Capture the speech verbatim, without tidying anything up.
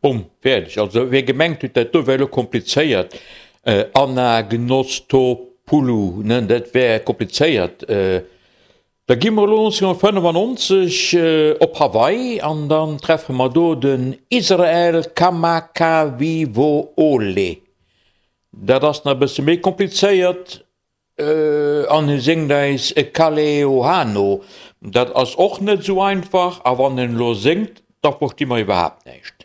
Bumm, fäerdeg. Also wie gemengt huet, dat do wär elo komplizéiert, Anagnostopoulou, ne, dat wär komplizéiert. Da gi mer elo nonzénhonnertfënnefannonzeg op Hawaii an dann treffe mer do den Israel Kamakawiwo'ole. Dat ass nach e bësse méi komplizéiert an hie séngt eis Kaleohano. Dat ass och net esou einfach a wann en elo séngt, da versti mer iwwerhaapt näischt.